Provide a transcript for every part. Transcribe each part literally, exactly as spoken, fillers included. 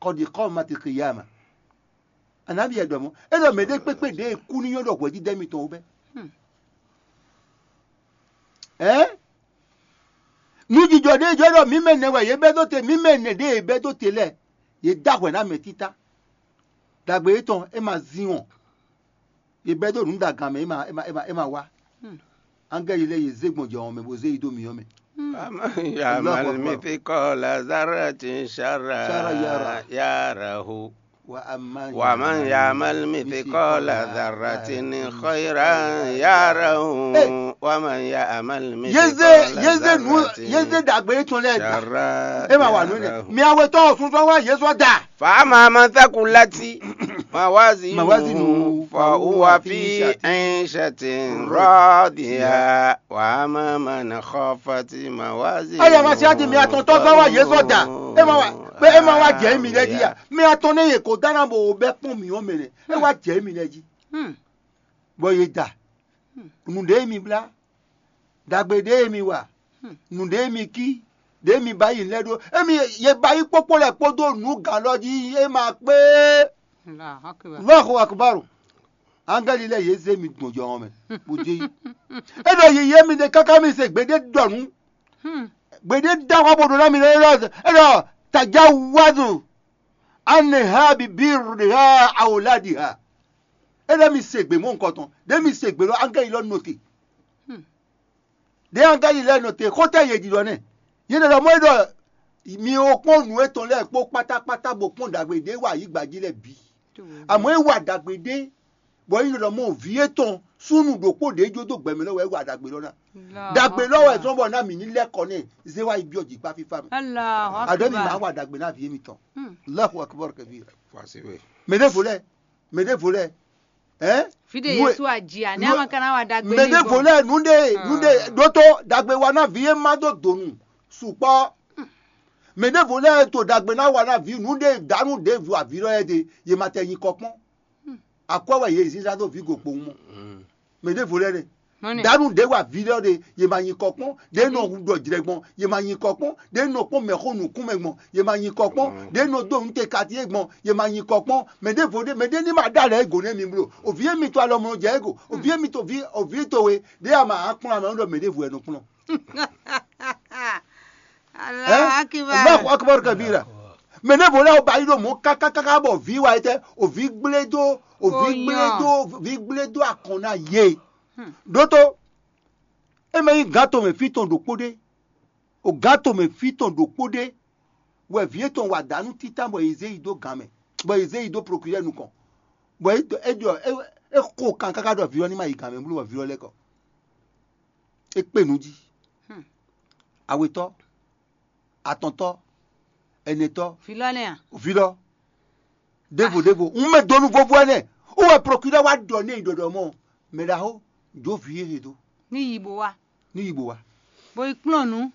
Kɔdi kɔmati kiyama. Anabi yɛ ɖɔ mɔ. E ɖɔ mɛ ɖe kpekpe ɖe e kú ní nyɔ́ ɖɔ hwɛjijɛ mitɔn wú bɛ. Ɛn? Nǔjijɔ ɖe jɔ ɖɔ mǐ mɛ nɛ wɛ yě bɛ́ dó te, mǐ mɛ nɛ ɖe yě bɛ́ dó te lɛ́ɛ, yě dó ahwɛ ná mɛ títá. Dagbe yětɔn é ma zin wɔn. Yě bɛ́ dó nǔ ɖo agan mɛ, é ma é ma é ma é ma wá. Angɛ́li lɛ́ɛ yě zé gbɔn jɔhɔn mɛ bó zé yi dó myɔ mɛ. ومن يعمل مثقال ذرة شرا يره. ومن يعمل مثقال ذرة خيرا يره. ومن يعمل مثقال ذرة شرا يره. Yé zé yé zé nǔ yé zé ɖagbe yětɔn lɛ́ɛ da. É ma wà nú nɛ. Mi awe tɔn sún sɔn wá yé sɔn da. فأما من ثقلت موازينه فهو في عيشة راضية. وأما من خفت موازينه. Aya ma si adi mi atɔn tɔ sɔn wá yé sɔn da. É ma wá pé é ma wá jɛ mi lɛ jí ya. Mi atɔn ne yě ko dáná bò bɛ kpɔn mi ɔ́ mɛ nɛ. É wá jɛ mi lɛ jí. Bɔ yě da. Nǔɖé mi blá. Dagbe ɖé mi wa. Nǔɖé mi kí. Ɖé mi ba yi lɛ ɖó. Émi ye ba yi kpókpó lɛ kpódó nǔ gǎn lɔ jí é ma kpé. Allahu akbar. Allahu akbar. Angɛ́li lɛ́ɛ yě zé mi gbɔn jɔhɔn mɛ bó jɛ yi. É ɖɔ yiyi émi ɖe káká mi se gbeɖé ɖɔ nǔ. Gbeɖé dá wá bó ɖo ná mi lɛ é ɖɔ tajá wázù. Anɛha bibirha awoladiha. É ɖɔ mi se gbe mɔ nukɔn tɔn. Ɖé mi se gbe lɔ angɛ́li lɔ nɔ te. Ɖé angɛ́li lɛ́ɛ nɔ te xótɛ́ yě ɖiɖɔ nɛ́. Yě ɖɔ ɖɔ mɔ̌ é ɖɔ mi o kpɔ́n nǔ étɔn lɛ́ɛ kpó kpátákpátá bó kpɔ́n ɖagbe ɖé wa ayǐgba jí lɛ́ɛ bǐ. Amɔ̌ é wa ɖagbe ɖé bɔ é ɖɔ mɔ vǐ étɔn súnnu ɖokpó ɖě jó dó gbɛmɛ lɔ wɛ é wa ɖagbe lɔ ná. Ɖagbe lɔ wɛ zɔ́n bɔ ná mǐ ní lɛ́ kɔ nɛ́ zé wá yi byɔ́ jǐkpá fífá mɛ. Aɖɔ̌ mi máa wa ɖagbe ná vǐ émitɔn. Allahu akbar kabira. Mɛ ɖěvo lɛ́ɛ, mɛ ɖěvo lɛ́ɛ, ɛn? Fide Yesu aji a ne ama kana wa dagbe mɛ ɖěvo lɛ́ɛ nǔɖé nǔɖé ɖótó dagbe wa ná vǐ e má dó donu sukpɔ́. Mɛ ɖěvo lɛ́ɛ to dagbe ná wa ná vǐ nǔɖé dǎnú ɖěvo avǐ lɔ yɛ ɖe yě ma tɛ nyi kɔ kpɔ́n. Akwɛ́ wɛ yě zínzán dó vǐ go kpowun mɔ. Mɛ ɖěvo lɛ́ɛ nɛ. Dǎnú ɖě wa vǐ lɔ ɖe yě ma nyi kɔ kpɔ́n, ɖě nɔ hu ɖɔ jlɛ gbɔn yě ma nyi kɔ kpɔ́n, ɖě nɔ kpɔ́n mɛxó nǔkún mɛ gbɔn yě ma nyi kɔ kpɔ́n, ɖě nɔ dó nǔ te katíé gbɔn yě ma nyi kɔ kpɔ́n. Mɛ ɖěvo ɖé mɛ ɖé ní ma ɖó alɛ égǒ nɛ́ mi bló. Òvǐ émi to alɔ mlɔ jɛ égǒ. Òvǐ émi to ví òvǐ towe ɖě a ma hán kplɔ́n amɛ ɖɔ mɛ ɖěvo wɛ nɔ kplɔ́n. Allahu akbar. Allahu akbar kabira. Mɛ ɖěvo lɛ́ɛ ba yi ɖo mɔ̌ kákákáká bɔ vǐ wa yi tɛ, òvǐ gblé dó, òvǐ gblé dó, òvǐ gblé dó akɔn ná yě. Ɖótó, é mɛ nyí gǎn tɔn mɛ fí tɔn ɖokpó ɖé, o gǎn tɔn mɛ fí tɔn ɖokpó ɖé, wɛ vǐ étɔn wa dǎnú títán bɔ è zé yi dó gǎn mɛ, bɔ è zé yi dó prokirɛ́ɛ nukɔn, bɔ é ɖɔ é xo kan káká ɖɔ vǐ ɔ́ ní ma yi gǎn mɛ bló bɔ vǐ ɔ́ lɛ́ kɔ. É kpe nǔ jí. Awetɔ́, atɔntɔ́, ɛnɛtɔ́, Vǐ lɔ nɛ́ a? Vǐ lɔ, ɖěvo ɖěvo, un mɛ donu vovo ɛnɛ, wú wɛ prokirɛ́ wá ɖɔ n'i ɖɔɖɔ mɔ, mɛ ɖaxó, jó vǐ e he dó, Ní yi bó wá. Ní yi bó wá. Bo yi kplɔ́n nǔ.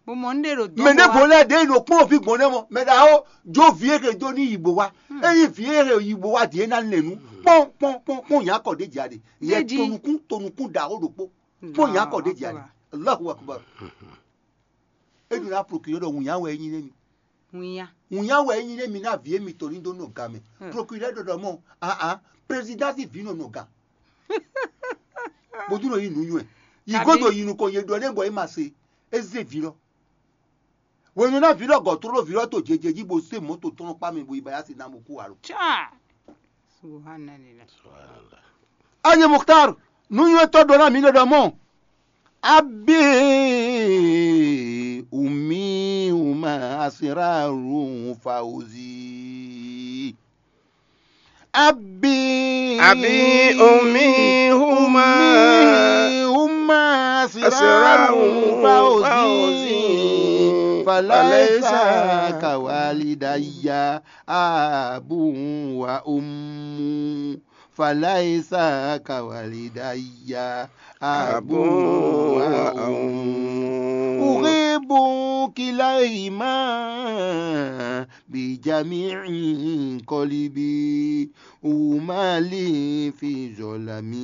Bo mɔ nǔɖé ɖo dɔn. Mɛ ɖěvo lɛ́ɛ ɖě nɔ kplɔ́n vǐ gbɔn nɛ́ mɔ, mɛ ɖaxó, jó vǐ e he dó ní yi bó wá. Ényí vǐ e he yi bó wá ɖíe ná lɛn nǔ, kpɔ́n kpɔ́n kpɔ́n kpɔ́n nyǎkɔ ɖě jà ɖe. Yɛ Dédí. Tonukún tonukún ɖaxó ɖokpó, kpɔ́n nyǎkɔ ɖě jà ɖe. Allahu akbar. É ɖo ná prokirɛ́ ɖɔ wǔnya wɛ é nyí nɛ́ mi. Wǐnya. Wǔnya wɛ é nyí nɛ́ mi ná vǐ émitɔn ní dó nɔ ga mɛ. Prokirɛ́ ɖɔ ɖɔ mɔ, aa, président sín vǐ nɔ nɔ ga. Bó dún nɔ yí nǔ nywɛ. Yi Kabi- godo yi nukɔn yě ɖɔ nɛ́ bɔ é ma se. É zé vǐ lɔ. Wěnu ná vǐ lɔ gɔ̌ tlóló vǐ lɔ to jeje jí bó zé mɔ̌ to tɔn kpá mɛ bo yi ba yá si ná bó kú alo. Ca. Subhanallah. Ayi Mukhtar, nǔnywɛ́tɔ́ ɖɔ ná mǐ ɖɔ ɖɔ mɔ. Abi umi uma asiraru fauzi. Abi Abi umi huma. Huma asiraru fauzi. Falaisa kawalidayya abu wa ummu. Falaisa kawalidayya abu wa ummu. Uhibbu kilayhima bijami'i qalbi. Umali fi zolami.